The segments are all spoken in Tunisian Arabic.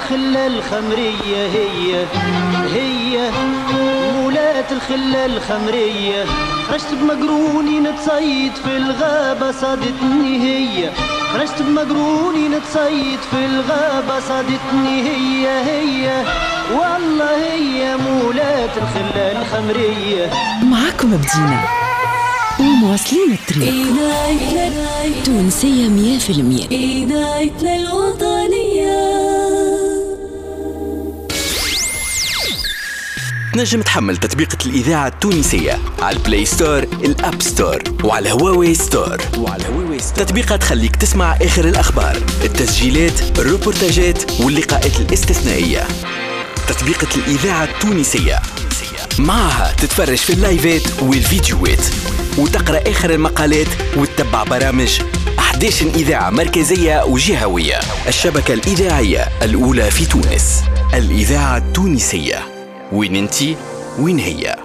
الخلة الخمرية هي هي مولاة الخلة الخمرية، خرجت بمقروني نتصيد في الغابة صادتني هي، خرجت بمقروني نتصيد في الغابة صادتني هي هي، والله هي مولاة الخلة الخمرية. معاكم بدينا ومواصلين الطريق. تونسية 100%. إذاعتنا الوطنية. تنجم تحمل تطبيقة الإذاعة التونسية على ال Play Store، ال App Store، وعلى Huawei Store. تطبيقة تخليك تسمع آخر الأخبار، التسجيلات، الروبورتاجات واللقاءات الاستثنائية. تطبيقة الإذاعة التونسية معها تتفرج في اللايفات والفيديوهات وتقرأ آخر المقالات وتتبع برامج 11 إذاعة مركزية وجهوية. الشبكة الإذاعية الأولى في تونس، الإذاعة التونسية. وين انتي وين هي.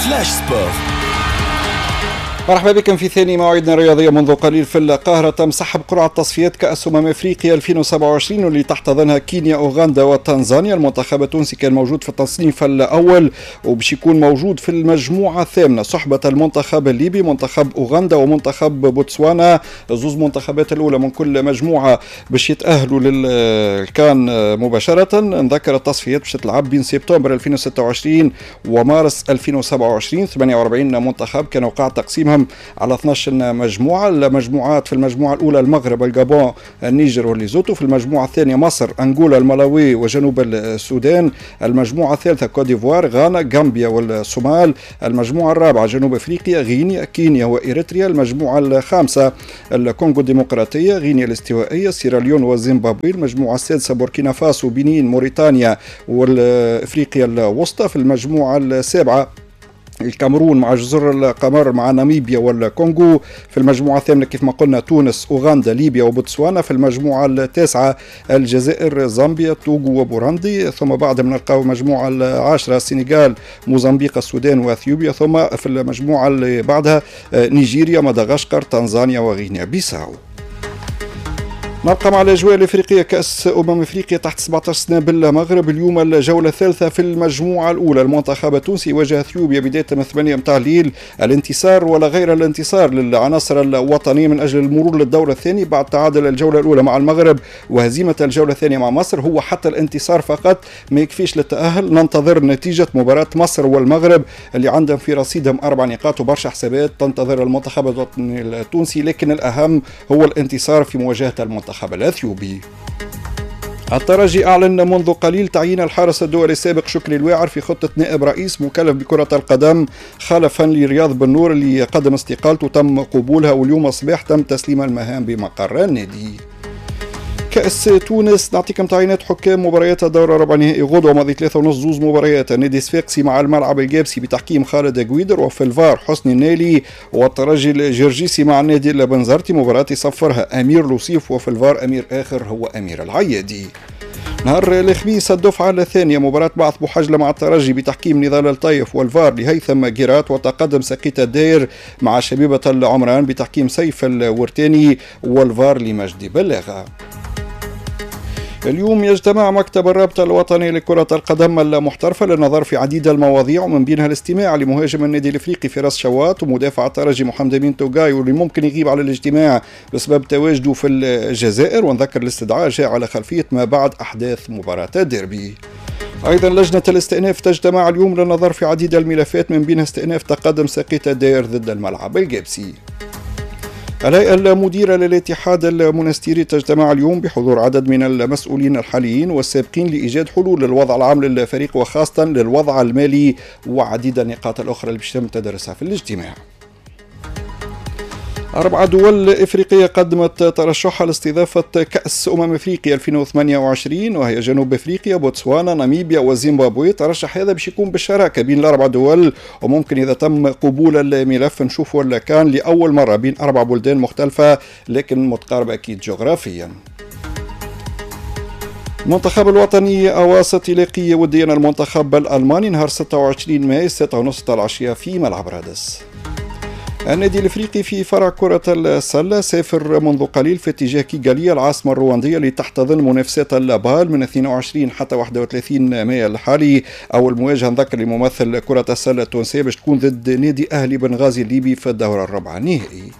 Flash Sport. مرحبا بكم في ثاني موعدنا الرياضية. منذ قليل في القاهرة تم سحب قرعة تصفيات كأس أمم أفريقيا 2027 واللي تحتضنها كينيا، أوغندا وتنزانيا. المنتخب التونسي كان موجود في التصنيف الأول وباش يكون موجود في المجموعة الثامنة صحبة المنتخب الليبي، منتخب أوغندا ومنتخب بوتسوانا. زوز منتخبات الأولى من كل مجموعة باش يتأهلوا للكان مباشرة. نذكر التصفيات باش تلعب بين سبتمبر 2026 ومارس 2027. 48 منتخب كان وقع تقسيمهم على 12 مجموعة. المجموعات في المجموعة الأولى المغرب، الجابون، النيجر والليزوتو. في المجموعة الثانية مصر، أنغولا، الملاوي وجنوب السودان. المجموعة الثالثة كوت ديفوار، غانا، غامبيا والصومال. المجموعة الرابعة جنوب أفريقيا، غينيا، كينيا وإريتريا. المجموعة الخامسة الكونغو الديمقراطية، غينيا الاستوائية، سيراليون وزيمبابوي. المجموعة السادسة بوركينا فاسو، بنين، موريتانيا والإفريقيا الوسطى. في المجموعة السابعة الكاميرون مع جزر القمر مع ناميبيا والكونغو. في المجموعة الثامنة كيف ما قلنا تونس، أوغندا، ليبيا وبوتسوانا. في المجموعة التاسعة الجزائر، زامبيا، توغو وبوروندي. ثم بعد نلقاو المجموعة العاشرة السنغال، موزمبيق، السودان واثيوبيا. ثم في المجموعة اللي بعدها نيجيريا، مدغشقر، تنزانيا وغينيا بيساو. نبقى مع الأجواء الإفريقية. كأس أمم أفريقيا تحت 17 سنة بالمغرب، اليوم الجولة الثالثة في المجموعة الأولى. المنتخب التونسي واجه أثيوبيا بداية من 8 متاع الليل. الانتصار ولا غير الانتصار للعناصر الوطنية من أجل المرور للدور الثاني بعد تعادل الجولة الأولى مع المغرب وهزيمة الجولة الثانية مع مصر. هو حتى الانتصار فقط ما يكفيش للتأهل. ننتظر نتيجة مباراة مصر والمغرب اللي عندهم في رصيدهم 4 نقاط وبرشا حسابات تنتظر المنتخب الوطني التونسي، لكن الأهم هو الانتصار في مواجهة المنتخب الأثيوبي. الترجي أعلن منذ قليل تعيين الحارس الدولي السابق شكري الواعر في خطة نائب رئيس مكلف بكرة القدم خلفا لرياض بنور اللي قدم استقالته تم قبولها، واليوم الصباح تم تسليم المهام بمقر النادي. كأس تونس نعطيكم تعيينات حكام مباريات الدور الربع نهائي غدوة ماضي 3:30 زوز مباريات. النادي الصفاقسي مع الملعب الجابسي بتحكيم خالد قويدر وفي الفار حسني النالي، والترجي الجرجيسي مع النادي البنزرتي مباراة يصفرها أمير لوصيف وفي الفار أمير آخر هو أمير العيادي. نهار الخميس الدفعة الثانية مباراة بعث بوحجلة مع الترجي بتحكيم نضال الطيف والفار لهيثم جيرات، وتقدم سقيت الداير مع شبيبة العمران بتحكيم سيف الورتاني والفار لمجدي بلاغة. اليوم يجتمع مكتب الرابطة الوطني لكرة القدم المحترفة للنظر في عديد المواضيع ومن بينها الاستماع لمهاجم النادي الافريقي فراس شواط ومدافع الترجي محمد امين توغاي واللي ممكن يغيب على الاجتماع بسبب تواجده في الجزائر. ونذكر الاستدعاء جاء على خلفية ما بعد أحداث مباراة الديربي. أيضا لجنة الاستئناف تجتمع اليوم للنظر في عديد الملفات من بينها استئناف تقدم سقيت الداير ضد الملعب الجابسي. الهيئة المديرة للاتحاد المونستيري تجتمع اليوم بحضور عدد من المسؤولين الحاليين والسابقين لإيجاد حلول للوضع العام للفريق وخاصة للوضع المالي وعديد النقاط الأخرى اللي باش تم تدرسها في الاجتماع. 4 دول إفريقية قدمت ترشحها لاستضافة كأس أمم أفريقيا 2028 وهي جنوب أفريقيا، بوتسوانا، ناميبيا وزيمبابوي. ترشح هذا باش يكون بالشراكة بين الأربع دول، وممكن إذا تم قبول الملف نشوفوا كان لأول مرة بين 4 بلدان مختلفة لكن متقاربة أكيد جغرافيا. المنتخب الوطني أواسط يلاقي وديا المنتخب الألماني نهار 26 ماي 6:30 العشية في ملعب رادس. النادي الافريقي في فرع كرة السلة سافر منذ قليل في اتجاه كيغالي العاصمة الرواندية لتحتضن منافسات البال من 22 حتى 31 مايو الحالي. أول مواجهة نذكر لممثل كرة السلة التونسية باش تكون ضد نادي أهلي بنغازي الليبي في الدورة الرابعة النهائي.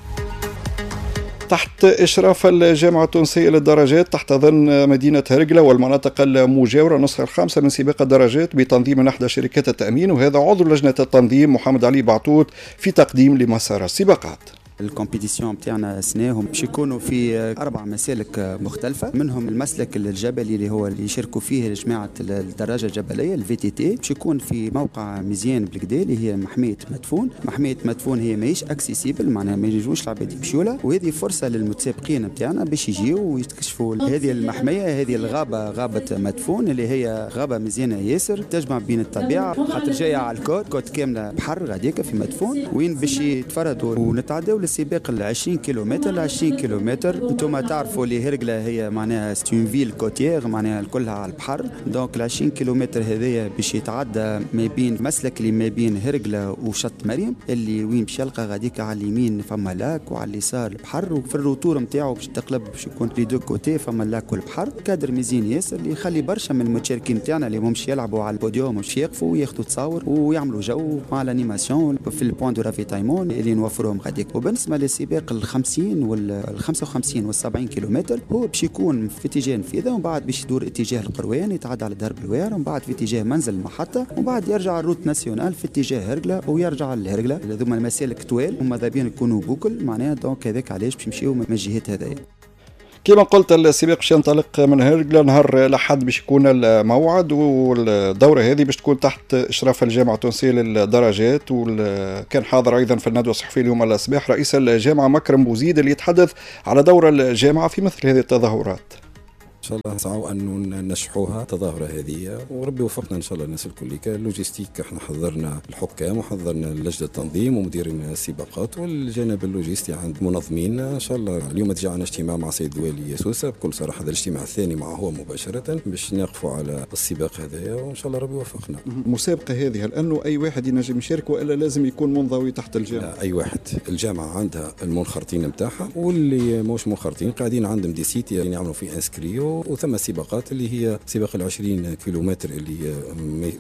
تحت إشراف الجامعة التونسية للدراجات تحتضن مدينة هرقلة والمناطق المجاورة النسخة الخامسة من سباق الدراجات بتنظيم من إحدى شركات التأمين، وهذا عضو لجنة التنظيم محمد علي بعطوط في تقديم لمسار السباقات. ال compétition بتاعنا سناهم باش يكونوا في 4 مسالك مختلفة، منهم المسلك الجبلي اللي هو اللي يشاركوا فيه جماعة الدراجة الجبلية ال VTT، باش يكون في موقع مزيان بالكدا اللي هي محمية مدفون. محمية مدفون هي ماهيش accessible، معناها ما ينجموش العباد يمشيوا لها، وهذه فرصة للمتسابقين بتاعنا باش يجيو ويكتشفوا هذه المحميه، هذه الغابة، غابه مدفون اللي هي غابه مزيانه ياسر تجمع بين الطبيعة، خاطر جاية على ال côte، côte كاملة بحر غاديكا في مدفون، وين باش يتفردوا ونتعداو سباق ال 20 كيلومتر. ال 20 كيلومتر انتم تعرفوا اللي هرقله هي معناها c'est une ville côtière، معناها كلها على البحر، donc ال 20 كيلومتر هذايا باش يتعدى ما بين مسلك اللي ما بين هرقله وشط مريم، اللي وين باش يلقى غاديك على اليمين فما lac وعلى اليسار البحر، وفي ال retour نتاعو باش تقلب باش يكون les deux côtés فما ال lac والبحر. كادر مزيان ياسر اللي يخلي برشا من المتشاركين نتاعنا اللي همش يلعبوا على البوديوم مش يقفوا وياخذوا تصاور ويعملوا جو مع l'animation في ال points de ravitaillement اللي نوفروهم غاديك. وبالنسبة للسباق ال 50 وال 55 وال 70 كيلومتر هو باش يكون في اتجاه نفيذه، ومن بعد باش يدور اتجاه القروان، يتعدى على درب الوار، ومن بعد في اتجاه منزل المحطة، ومن بعد يرجع ال route nationale في اتجاه هرقله ويرجع لهرقله. هذوما المسالك طوال وماذا بينا يكونوا boucle معناها، donc هذاك علاش باش نمشيو من الجهات هذايا. كما قلت السباق باش ينطلق من هرقلة نهار الأحد باش يكون الموعد، والدورة هذه باش تكون تحت إشراف الجامعة التونسية للدراجات. وكان حاضر أيضا في الندوة الصحفية اليوم الصباح رئيس الجامعة مكرم بوزيد اللي يتحدث على دور الجامعة في مثل هذه التظاهرات. ان شاء الله نسعوا انه ننجحوها التظاهرة هذه، وربي وفقنا ان شاء الله الناس الكل. logistique احنا حضرنا الحكام وحضرنا لجنة التنظيم ومديرين السباقات، والجانب اللوجستي عند منظمين. ان شاء الله اليوم تجي عندنا اجتماع مع سيد الوالي سوسة، بكل صراحة هذا الاجتماع الثاني معه هو مباشرة باش نقفوا على السباق هذايا، وان شاء الله ربي يوفقنا. المسابقة هذه هل انه اي واحد ينجم يشارك والا لازم يكون منضوي تحت الجامعة؟ لا، اي واحد. الجامعة عندها المنخرطين نتاعها، واللي مش منخرطين قاعدين عندهم des sites يعني يعملوا فيه inscrits، وثم سباقات اللي هي سباق ال 20 كيلومتر اللي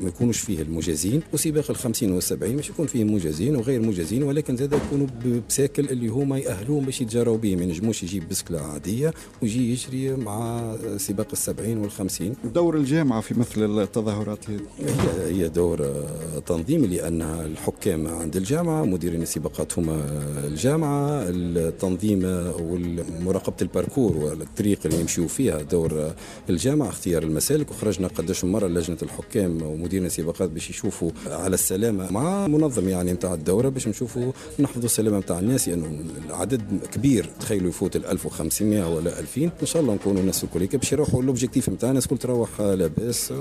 ما يكونوش فيه المجازين، وسباق ال 50 وال 70 مش يكون فيه مجازين وغير مجازين، ولكن زاد يكونوا بساكل اللي هما يأهلوهم باش يتجراو به، ما ينجموش يجيب بسكله عادية ويجي يجري مع سباق ال 70 وال 50. دور الجامعة في مثل التظاهرات هذه هي دور تنظيمي، لأن الحكام عند الجامعة، مديرين السباقات هما الجامعة، التنظيم ومراقبة ال parcours والطريق اللي يمشيوا فيها دور الجامعة، اختيار المسالك. وخرجنا قداش مرة لجنة الحكام ومديرين السباقات باش يشوفوا على السلامة مع منظم يعني نتاع الدورة، باش نشوفوا نحفظوا السلامة نتاع الناس، لانه يعني العدد كبير، تخيلوا يفوت ال 1500 ولا 2000. ان شاء الله نكونوا الناس الكل باش يروحوا l'objectif نتاع الناس الكل تروح لاباس.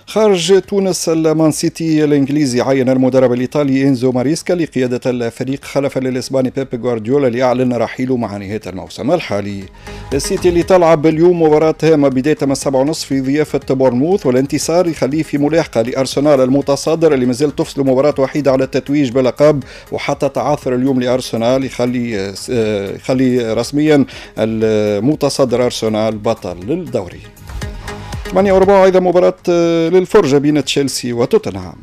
خارج تونس، المان سيتي الانجليزي عين المدرب الايطالي انزو ماريسكا لقيادة الفريق خلفا للاسباني بيب غوارديولا اللي اعلن رحيله مع نهاية الموسم الحالي. السيتي اللي تلعب اليوم مباراة هامة بداية من 7:30 في ضيافة بورنموث، والانتصار يخليه في ملاحقه لارسنال المتصدر اللي مازال تفصل مباراة وحيده على التتويج بلقب، وحتى تعثر اليوم لارسنال يخلي رسميا المتصدر ارسنال بطل للدوري. 8:15 أيضا مباراة للفرجة بين تشيلسي وتوتنهام.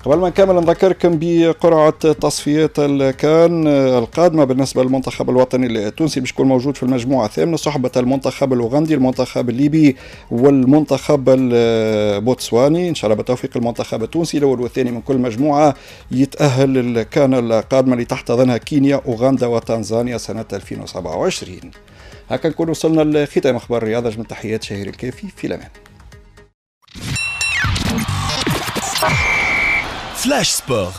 قبل ما نكمل نذكركم بقرعة تصفيات الكان القادمة بالنسبة للمنتخب الوطني التونسي باش يكون موجود في المجموعة الثامنة صحبة المنتخب الأوغندي، المنتخب الليبي، والمنتخب البوتسواني. إن شاء الله بالتوفيق المنتخب التونسي الأول والثاني من كل مجموعة يتأهل للكان القادمة اللي تحتضنها كينيا، أوغندا وتنزانيا سنة 2027. هكا نكون وصلنا لختام أخبار الرياضة. من تحيات شهير الكافي، في الأمان. Flash Sport.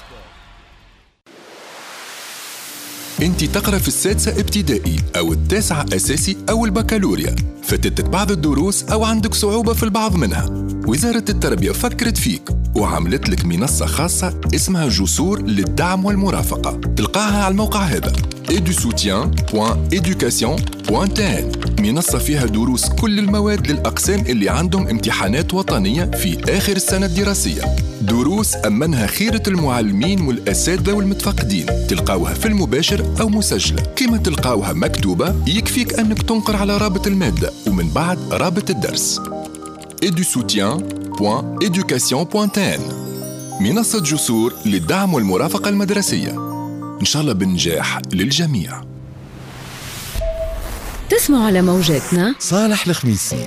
انت تقرا في السادسة ابتدائي او التاسعة اساسي او البكالوريا، فاتتك بعض الدروس او عندك صعوبة في البعض منها. وزارة التربية فكرت فيك وعملت لك منصة خاصة اسمها جسور للدعم والمرافقة، تلقاها على الموقع هذا edusoutien.education.tn. منصة فيها دروس كل المواد للأقسام اللي عندهم امتحانات وطنية في آخر السنة الدراسية. دروس أمنها خيرة المعلمين والأساتذة والمتفقدين، تلقاوها في المباشر أو مسجلة، كما تلقاوها مكتوبة. يكفيك أنك تنقر على رابط المادة ومن بعد رابط الدرس. edusoutien.education.tn، منصة جسور للدعم والمرافقة المدرسية. إن شاء الله بالنجاح للجميع. تسمعوا على موجاتنا صالح الخميسي.